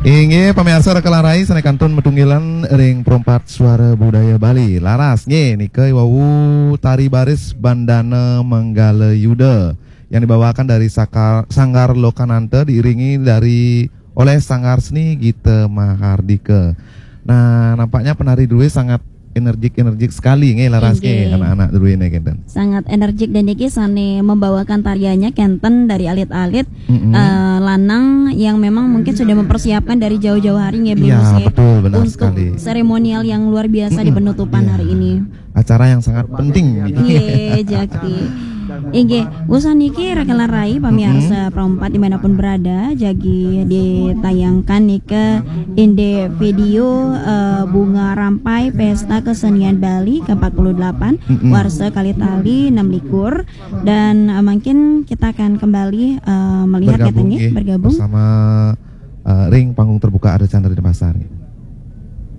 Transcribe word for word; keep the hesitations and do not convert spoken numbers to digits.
Inggih, pamiarsa Raka lan Rai, sané kantun matunggilan ring Perempat Suara Budaya Bali. Laras, nggih, nika wau tari baris Bandana Manggala Yuda yang dibawakan dari Saka- Sanggar Lokananta diiringi dari oleh Sanggar Seni Gita Mahardika. Nah, nampaknya penari drué sangat energik-energik sekali nggih, Laras nggih, anak-anak drué né kénten. Sangat energik dan niki sané membawakan tariannya kénten dari alit-alit, eh, lanang yang memang mungkin sudah mempersiapkan dari jauh-jauh hari nggih, Bli Mus, ya, betul, benar untuk sekali. Seremonial yang luar biasa di penutupan hari ini. Acara yang sangat penting. Iya, jaki. Inggih, usan niki Raka lan Rai, pamiarsa Perempat dimanapun berada, jagi ditayangkan nika indik video, eh, Bunga Rampai Pesta Kesenian Bali ke empat puluh delapan, warsa kalih tali enam likur, dan, eh, mungkin kita akan kembali, eh, melihat katanya, nggih, bergabung bersama, eh, ring panggung terbuka Ardha Candra Denpasar.